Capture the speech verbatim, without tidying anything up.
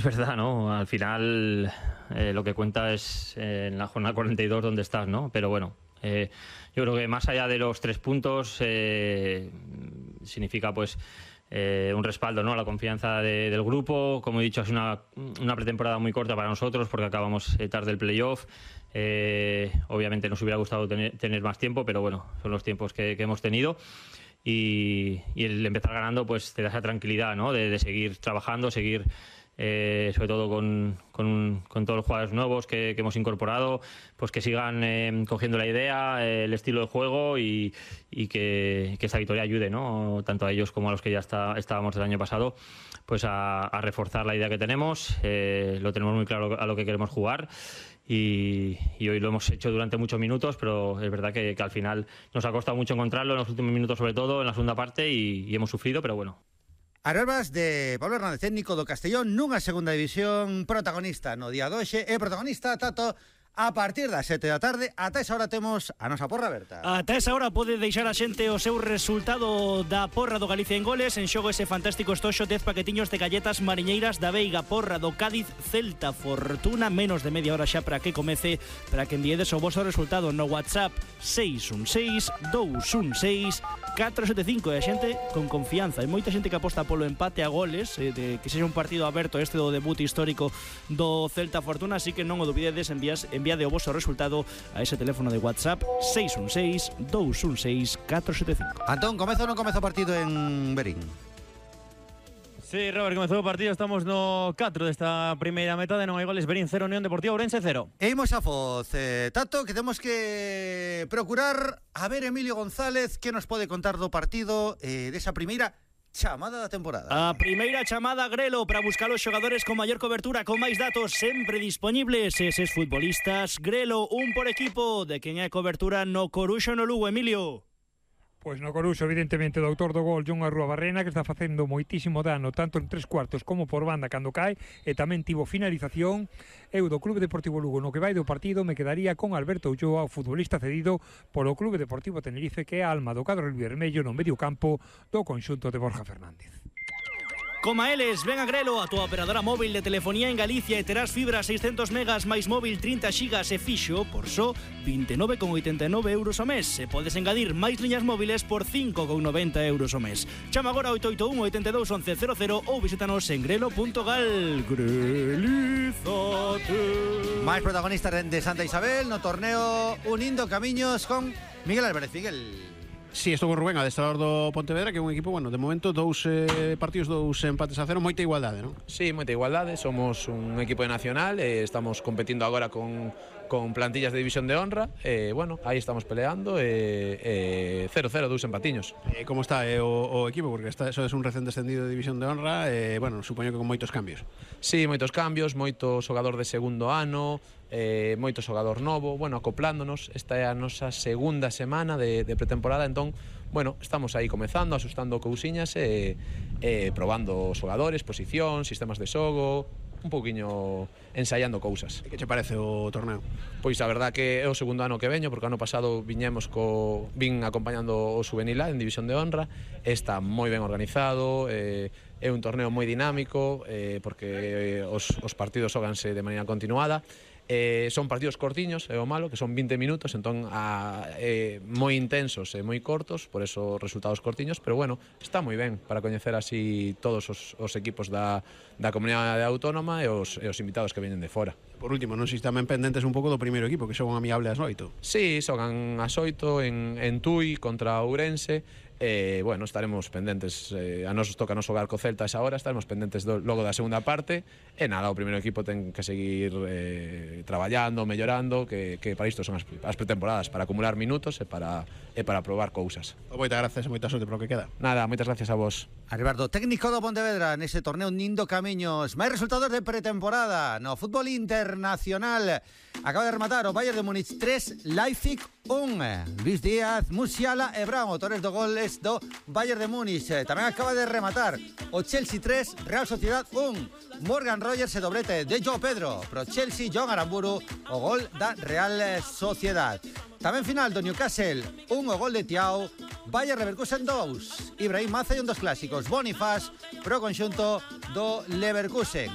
Es verdad, ¿no? Al final eh, lo que cuenta es eh, en la jornada cuarenta y dos dónde estás, ¿no? Pero bueno, eh, yo creo que más allá de los tres puntos eh, significa pues eh, un respaldo, ¿no? La confianza de, del grupo. Como he dicho, es una, una pretemporada muy corta para nosotros porque acabamos eh, tarde el playoff. Eh, obviamente nos hubiera gustado tener, tener más tiempo, pero bueno, son los tiempos que, que hemos tenido. Y, y el empezar ganando pues te da esa tranquilidad, ¿no? De, de seguir trabajando, seguir... Eh, sobre todo con, con, con todos los jugadores nuevos que, que hemos incorporado, pues que sigan eh, cogiendo la idea, eh, el estilo de juego y, y que, que esta victoria ayude, ¿no? Tanto a ellos como a los que ya está, estábamos el año pasado, pues a, a reforzar la idea que tenemos. Eh, lo tenemos muy claro a lo que queremos jugar y, y hoy lo hemos hecho durante muchos minutos, pero es verdad que, que al final nos ha costado mucho encontrarlo en los últimos minutos, sobre todo en la segunda parte, y, y hemos sufrido, pero bueno. As verbas de Pablo Hernández, técnico do Castellón nunha segunda división, protagonista no día doxe e protagonista Tato a partir das sete da tarde. Ata esa hora temos a nosa porra aberta. Ata esa hora pode deixar a xente o seu resultado da porra do Galicia en goles. En xogo ese fantástico estoxo, dez paquetiños de galletas mariñeiras da Veiga. Porra do Cádiz Celta Fortuna, menos de media hora xa para que comece, para que enviedes o vosso resultado no WhatsApp seis un seis, dous un seis, catro sete cinco. E a xente con confianza. Hai moita xente que aposta polo empate a goles, eh, de que sexa un partido aberto este do debut histórico do Celta Fortuna, así que non o dubidedes, envías enviade o vosso resultado a ese teléfono de WhatsApp seis un seis, dous un seis, catro sete cinco. Antón, comezo ou non comezo o partido en Berín? Sí, Robert, comezou o partido, estamos no catro desta primeira metade, non hai goles. Berín cero, Unión Deportiva Ourense cero. E imos a Foz, eh, Tato, que temos que procurar a ver Emilio González que nos pode contar do partido, eh, desa primeira chamada da temporada. A primeira chamada Grelo para buscar os xogadores con maior cobertura, con máis datos sempre disponibles. Eses futbolistas, Grelo, un por equipo. De quen é cobertura no Coruxo no Lugo, Emilio? Pois no Coruxo, evidentemente, do autor do gol, Jon Arruabarrena, que está facendo moitísimo dano tanto en tres cuartos como por banda cando cae, e tamén tivo finalización. Eu do Clube Deportivo Lugo, no que vai do partido, me quedaría con Alberto Ulloa, o futbolista cedido polo Clube Deportivo Tenerife, que é a alma do cadro vermello no medio campo do conxunto de Borja Fernández. Coma eles, ven a Grelo, a tua operadora móvil de telefonía en Galicia, e terás fibra seiscentos megas máis móvil trinta xigas e fixo por só vinte e nove con oitenta e nove euros ao mes. E podes engadir máis liñas móviles por cinco con noventa euros ao mes. Chama agora oito oito un, oito dos, once cero cero ou visítanos en grelo punto gal. Grelízate. Máis protagonistas de Santa Isabel no torneo Unindo Camiños con Miguel Álvarez. Miguel. Sí, estou con Rubén, adestrador do Pontevedra, que é un equipo, bueno, de momento dous eh, partidos, dous empates a cero, moita igualdade, non? Sí, moita igualdade, somos un equipo de nacional, eh, estamos competindo agora con, con plantillas de división de honra, e, eh, bueno, aí estamos peleando, e eh, cero cero, dous empatiños. Eh, como está eh, o, o equipo? Porque está, eso é un recén descendido de división de honra, e, eh, bueno, supoño que con moitos cambios. Sí, moitos cambios, moito xogador de segundo ano, eh, moito xogador novo, bueno, acoplándonos. Esta é a nosa segunda semana de, de pretemporada, entón, bueno, estamos aí comezando, asustando cousiñas e, e probando xogadores, posición, sistemas de xogo, un pouquiño ensaiando cousas. E que che parece o torneo? Pois a verdad que é o segundo ano que veño, porque ano pasado viñemos co, vin acompañando o Juvenil A en División de Honra. Está moi ben organizado, eh, é un torneo moi dinámico, eh, porque os, os partidos xoganse de maneira continuada. Eh, son partidos cortiños, é o malo, que son vinte minutos, entón a, eh, moi intensos e moi cortos, por eso resultados cortiños, pero bueno, está moi ben para coñecer así todos os, os equipos da, da comunidade autónoma e os, e os invitados que veñen de fora. Por último, non sei se tamén pendentes un pouco do primeiro equipo, que xogan amigable ás oito. Sí, xogan ás oito en, en Tui contra Ourense. Eh, bueno, estaremos pendentes, eh, a nos toca nos xogar co Celta a esa hora, estaremos pendentes do, logo da segunda parte, e nada, o primeiro equipo ten que seguir eh, traballando, mellorando, que, que para isto son as, as pretemporadas, para acumular minutos e para, e para probar cousas. Moitas gracias e moita sorte para o que queda. Nada, moitas gracias a vos. Arribardo, técnico do Pontevedra nese torneo Unindo Camiños. Máis resultados de pretemporada no fútbol internacional. Acaba de rematar o Bayern de Múnich tres, Leipzig un. Luis Díaz, Musiala e Brown, autores do goles do Bayern de Múnich. Tamén acaba de rematar o Chelsea tres, Real Sociedad un. Morgan Rogers e doblete de João Pedro. Pro Chelsea, John Aramburu, o gol da Real Sociedad. Tamén final do Newcastle, un o gol de Thiago, Bayer Leverkusen dous. Ibrahim Maza e un dos clásicos, Bonifaz, pro conxunto do Leverkusen.